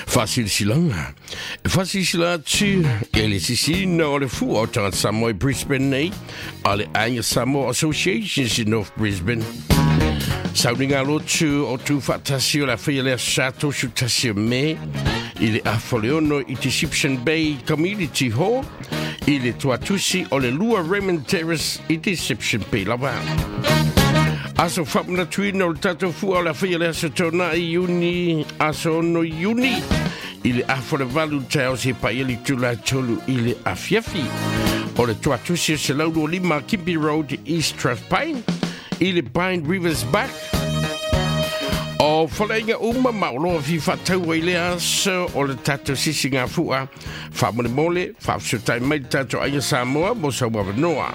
Faasilasilaga. E faasilasila atu e le sisiina o le fua o tagata Samoa i Brisbane nei a le Aiga Samoa Associations i North Brisbane. Sauniga lotu o tu faatasi o le a faia le aso Sa 31 o Me i le afa o le 6 i Deception Bay Community Hall i le tuatusi o le 2 Raymond Terrace i Deception Bay lava. Aso faamanatuina o le tatou fua o le a faia le aso Toonai Iuni, aso 6 Iuni, i le afa o le 8 taeao seia paia le itula e 3 i le afiafi. O le tuatusi o 125 Kimpi Road, East Strathpine, i le Pine Rivers Back. O faleaiga uma ma oloa fia faataua i lea aso o le tatou sisigafua. Faamolemole, faafesootai mai le tatou Aiga Samoa mo sau avanoa.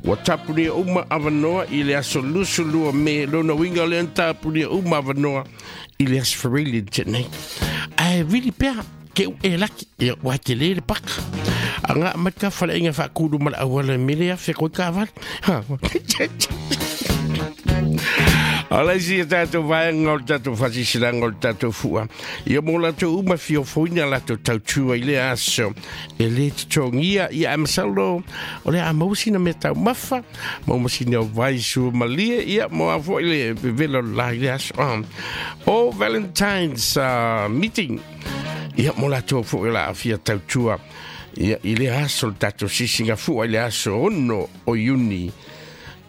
Ua tapunia uma avanoa i le aso 22 Me, lona uiga lea na tapunia uma avanoa i le aso Faraili na tea nei. Ae vili pea, ke u e laki, ia ua tele le paka. Anga mai ka faleaiga faakulu ma le auala mele afe koe ka vale. Ha. O le isi o tatou vaega o le tatou faasisilanga o le tatou fua. Ia mo latou uma fia ofoina latou tautua i lea aso e le totogia ia ae masalo o le a maua sina mea taumafa maua ma sina vai sua malie ia mo a foi le vevela o le la i le aso. O Valentine's meeting ia mo latou foi o le a fia tautua ia i lea aso le tatou sisiga fua i le aso 6 o Iuni.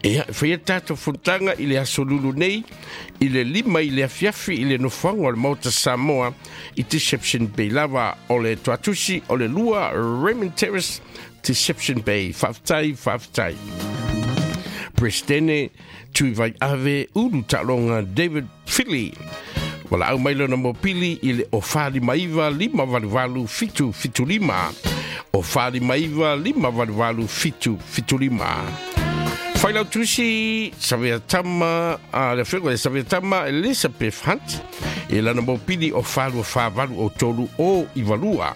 Ia, e faia tatou fonotaga i le aso Lulu nei, i le 5 i le afiafi i le nofoaga o le Maota Samoa i Deception Bay lava o le Tuatusi o le 2 Raymond Terrace, Deception Bay. Faafetai, faafetai. Presidene Tuivai Ave Ulu Taaloga David Philly. Valaau mai lona mopili i le o 459 588 775. O 459 588 775. Failautusi Savea Tama, a le afioga ia Savea Tama Elizabeth Hunt, i lana mopili o 4 2 4 8 o 3 o 92.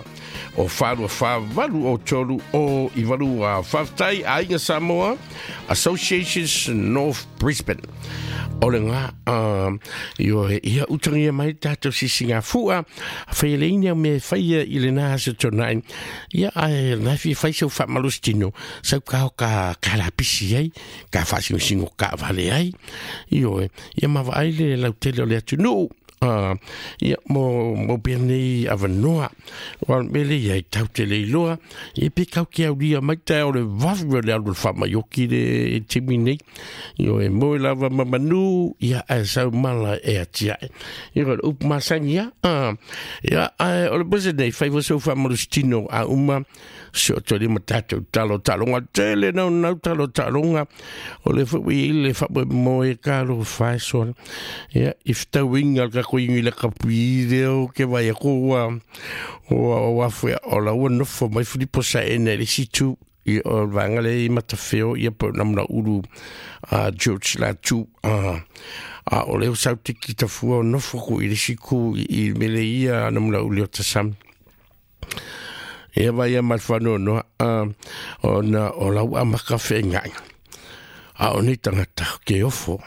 O 4 2 4 8 o 3 o 92. Faafetai Aiga Samoa Associations North Brisbane. O le ngā, io ia utangia mai tatou sisiga fua, whai le ina me whaia i le nā aso tonai, ia ai nā fi whai sau whamalus tino, sau kao ka la pisi ai, ka whasingosingo ka vale ai, io ia mawa ai le lautele o le atu nuu, ia mo pea nei avanoa wa mele ia i tau te leiloa ia pe kau ke aulia mai tae o le vavu o le alu le faamaioki le timi nei io e moe lava ma manu ia ae sau mala e atiae ia o le upu masani ia ia ae o le pese nei fai fo sau faamalositino a uma se o toli ma tatou talo taloga tele nau nau talo taloga o le foi i le faamoemoe ka lo faesoa ia i fetauiga le kako ingi le kapui leo ke vai ako ua ua ua fue o la ua nofo mai Filipo Saene le situ i o le vaega le i Matafeo ia po na ulu a George Latu a o leo sau tiki tafua o nofo ku i le siku i mele ia na muna ulu o tasami. Ia vai ia mai whanoanoa, o na o lau amaka whengai. A o nei tangata ke ofo.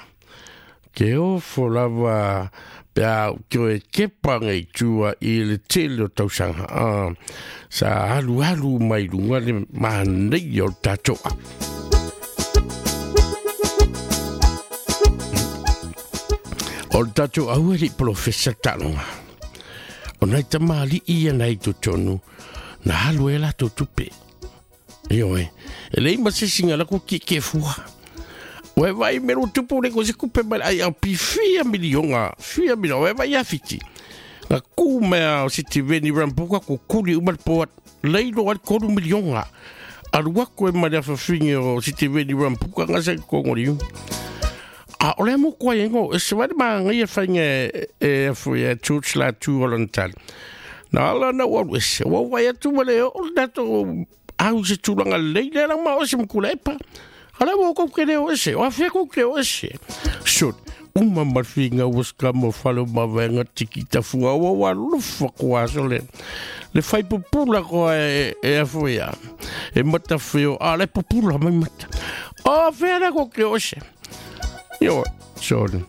Ke ofo lava pe a ke oe kepa ngai tua i le tele o tausanga. Sa alu alu mai lunga le mahanei o le tātoa. O le tātou aua li profesa talonga. O nai tamali'i ia nai totonu, na alu e latou tupe. Ioe, e lei ma se singa la ku ke ke fua. Ua e vai me lo tupu le ko se kupe mai ai au pi fia milionga, fia milionga, ua e vai awhiti. Nga ku mea o siti veni rampuka ko kuli uma le poat, lei lo al 3 milionga. Alu aku e mai le awhawhingi o siti veni rampuka nga se kongori. A o le mo koa engo, e se wale maa ngai e whainga e afu e church la tu o lantali. Na ala na ua ese, ua wai atu ma le o le tatou au se tulaga lelei lea la ma o se makula epa. Ala ua kou ke leo ese, o afea kou ke leo ese. Sure, uma ma le whiinga ua skama fale o mavaega tiki tafua ua ua alofa koa aso le. Le fai pupula koa e afu ia. E matawheo, a le pupula mai mata. O afea la kou ke leo ese. Io, sorry.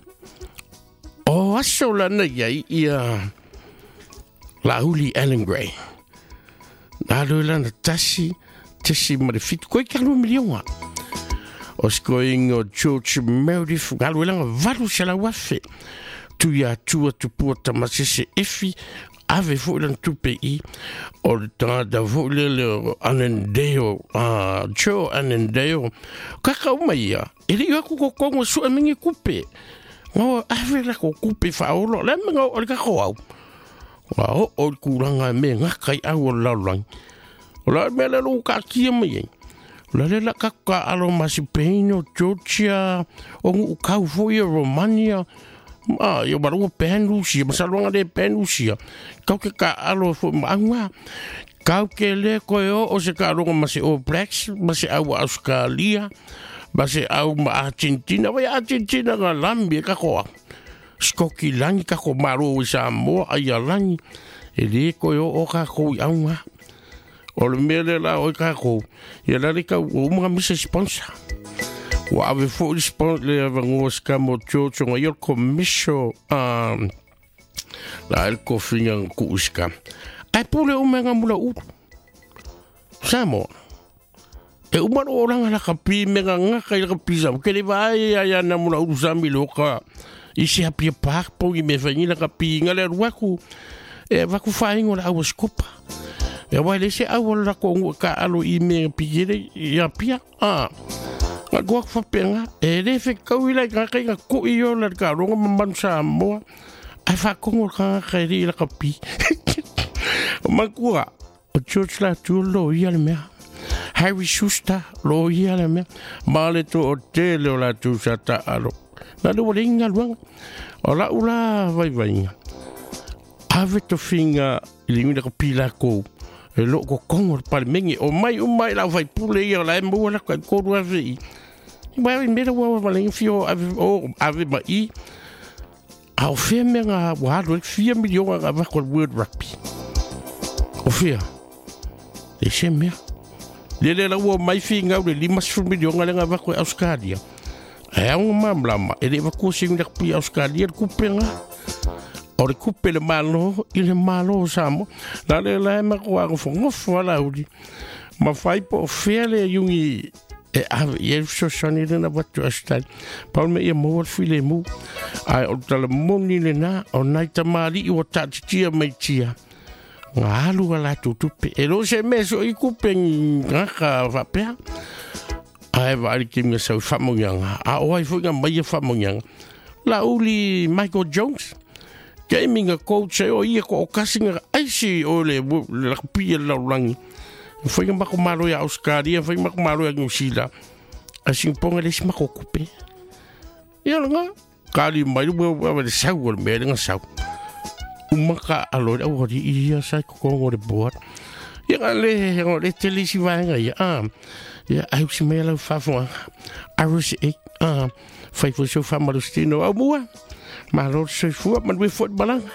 O aso lana iai ia Laauli Allan Gray. Na alu lana 1.7 koi ka 2 miliona. O sikoinga o George Meredith na alu lana 800,000. Tu ia tua tupua tamasese efi ave foi lana tupe i o le tagata foi lele o Annandale, Joe Annandale. Kaka uma ia, e le i aku kokongo sua mingi kupe. Ngā ave la ko kupe whaolo, le me ngā o le kako au. Ngā o o le kūranga me ngā kai au o le laulangi. O la mea le lou ka kia mai ai. O la le la kako ka alo ma Spain o Georgia, o ngu kau foi o Romania, ma ia marunga pen Rusia, masaluanga le pen Rusia. Kau ke ka alo foi ma anga. Kau ke le koe o o se ka aloga ma se All Blacks, ma se au Australia, ma se au ma Argentina, vai Argentina nga lambi e kakoa. Skoki langi kako maro i Samoa ai a langi. E le koe o o kako i aunga. O le mea le la o i kako. Ia la le kau o umaga misa sponsor. Ua ave foi le sponsor le avangoa skamo George o ngai o le komisio la el kofinga ku uska. Ai pule o menga mula uru. Samoa. E uma lo oranga la kapi menga ngaka i la kapi sa. Ke le vai ai ana mula uru sa mi loka. I se apia park po i me whaingi la kapi nga le ruaku. E vaku whaingo la awa skopa. E wai le se awa la ko ngu ka alo i me pikere i apia. Nga kuak whapenga. E le fe kau i lai ngā kai ngā koi o la ka ronga mamanu Samoa. Ai whakongo ka ngā kai ri la kapi. O makua, o George Latour lo ia le mea. Harry Schuster lo ia le mea. Ma le to o tele o latour sa ta alo. Na le wale inga luanga. O la ula vai vainga. Ave to finga i le ngina ka pila kou. E lo ko kongo le pale mengi. O mai o mai la vai pule ia la e mua la kai koru ave i. I mai mera ua wale inga fio ave, o, ave ma i. A o fea mea ngā wā alu e fia miliona ngā wako le World Rugby. O fea? E se mea. Le le la ua mai fi ngau le 50 miliona le ngā wako e Australia. E au ngā mamlama, e le wakua se ngā pi Australia le kupe ngā. O le kupe le malo, i le malo o Samoa. La le la e mako a ngofo ngofo ala uri. Ma whai po o fea le yungi e ave i e fesoasoani le na watu Australia. Paul me ia maua le file mu. Ai o tala moni le na, o nai tamari i o tātitia mai tia. Ngā alu a lātou tupe. E lo se meso i kupe ngā ka whapea. Ai wa ari ki mga sau whamongianga. A o ai fo ngā mai e whamongianga. La uli Michael Jones. Ke imi ngā coach e o ia ko o kasi ngā aisi o le rugby e laulangi. Whai ngā mako malo ia Australia, whai mako malo ia New Zealand. A Singaponga le isi mako kupe. Ia la ngā. Kali mai ua ua le sau o le mea le ngā sau. Umaka alo le au hori ia sai kokongo le board. Ia ngā le, ngā le tele isi vaenga ia. Ia au si mea lau whafonga. Aru se e. Whai fo sau whamarustino au mua. Malo le soifua, manue fo malanga.